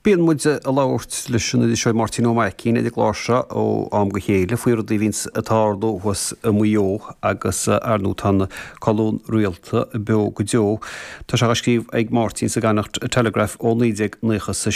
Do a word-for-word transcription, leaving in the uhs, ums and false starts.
Bíonn muid ag labhairt leis an iriseoir Máirtín Ó Maicín ar an gclár seo ó am go chéile faoi rudaí a bhíonns ag tarlú thuas i Maigh Eo agus ar ndóigh tá an colún rialta beo go deo. Tá sé á scríobh ag Máirtín sa gConnacht Telegraph ó naoi déag nócha sa